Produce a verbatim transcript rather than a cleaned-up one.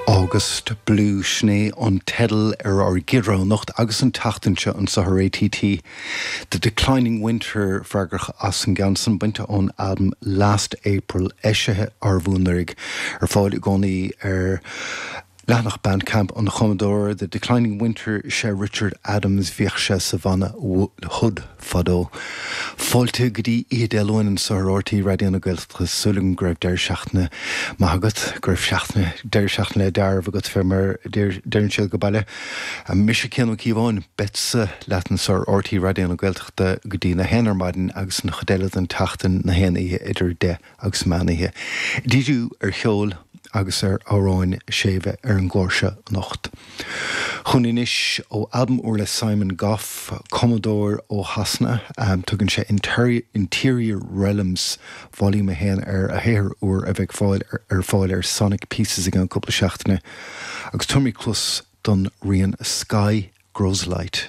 August Blue sin é an teideal ar ár gcéad rogha anocht agus an tseachtain seo anseo ar RTÉ. The Declining Winter freagrach as an gceann san bainte ón albam Last April eisithe anuraidh ar fáil i gcónaí ar leathanach Bandcamp an chumadóra The Declining Winter sé Richard Adams bhíodh sé sa bhanna Hood fadó. Fáilte go dtí Oíche Dé Luain anseo ar RTÉ Raidió na Gaeltachta súil go raibh deireadh seachtaine maith agat go raibh seachtaine deireadh seachtaine le dearbh agat fé mar deireann siad go baile. Mise Cian Ó Cíobháin beadsa leat anseo ar RTÉ Raidió na Gaeltachta go dtí a haon ar maidin agus an chuid eile den tseachtain na haon oíche idir deich agus meán oíche. Díriú ar cheol agus ar amhráin séimhe ar an gclár seo anocht. Chun anois ó albam úr le Simon Gough, cumadóir ó Shasana, um, tugann sé Interior, Interior Realms Volume a haon ar a shaothar úr a bheidh fáil ar, ar fáil ar Sonic Pieces i gceann cúpla seachtaine, agus tabharfaimid cluas don rian Sky Grows Light.